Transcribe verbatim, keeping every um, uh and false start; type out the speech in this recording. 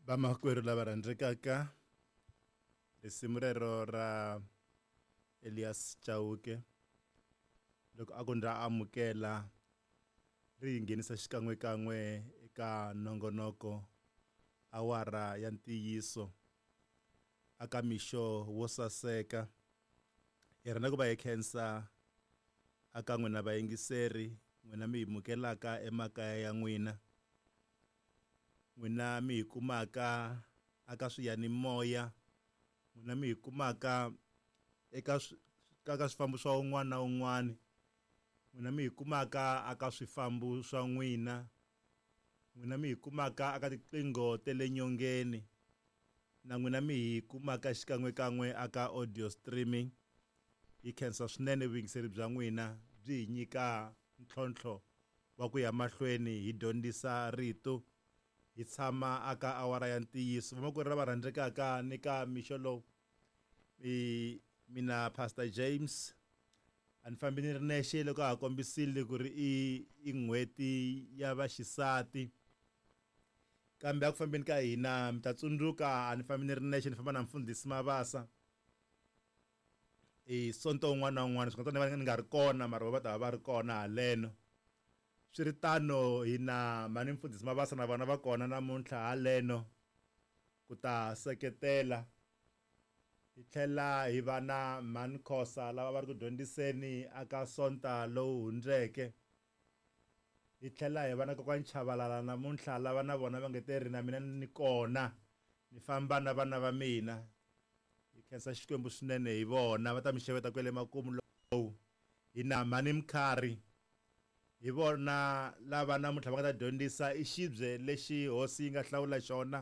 Vamakwerhu lava rhandzekaka, risimu rero ra Elias Chauke loko a ku ndza amukela ri hi nghenisa xikan'wekan'we eka nongonoko awara ya ntiyiso aka mixo wo saseka. Hi rhandza ku va hi khensa aka n'wina vayingiseri, n'wina mi hi mukelaka emakaya ya n'wina, n'wina mi hi kumaka aka swiyanimoya, n'wina mi hi kumaka eka ka ka swifambo swa un'wana na un'wana, n'wina mi hi kumaka aka swifambo swa n'wina, n'wina mi hi kumaka aka tiqingho ta le nyongeni, na n'wina mi hi kumaka xikan'wekan'we aka audio streaming. Hi khensa swinene vuyingiseri bya n'wina, byi hi nyika ntlhontlho wa ku ya mahlweni hi dyondzisa rito, hi tshama aka awara ya ntiyiso. Vamakwerhu lava rhandzekaka ni ka mixo lowu, i mina Pastor James a ni fambi ni ri nexe loko a ha kombisile ku ri i i n'hweti ya vaxisati, kambe a ku fambeni ka hina mi ta tsundzuka a ni fambi ni ri nexe, ni famba na mfundhisi Mabasa i sonto un'wana na un'wana, swi nga ta ni nga ri kona mara va ta va va ri kona haleno. Swi ri tano hina mhani mfundhisi Mabasa na vona va kona namuntlha haleno ku ta seketela. Hi tlhela hi va na mhani Khosa lava va ri ku dyondziseni aka sonta lowu hundzeke. Hi tlhela hi va na kokwani Chavalala namuntlha lava na vona va nge te ri na mina ni kona, ni famba na vana va mina. Hi khensa Xikwembu swinene hi vona, va ta mi xeweta kwele makumu lowu. Hi na mhani Mkhari, hi vona lava namuntlha va nga ta dyondzisa i xibye lexi hosi yi nga hlawula xona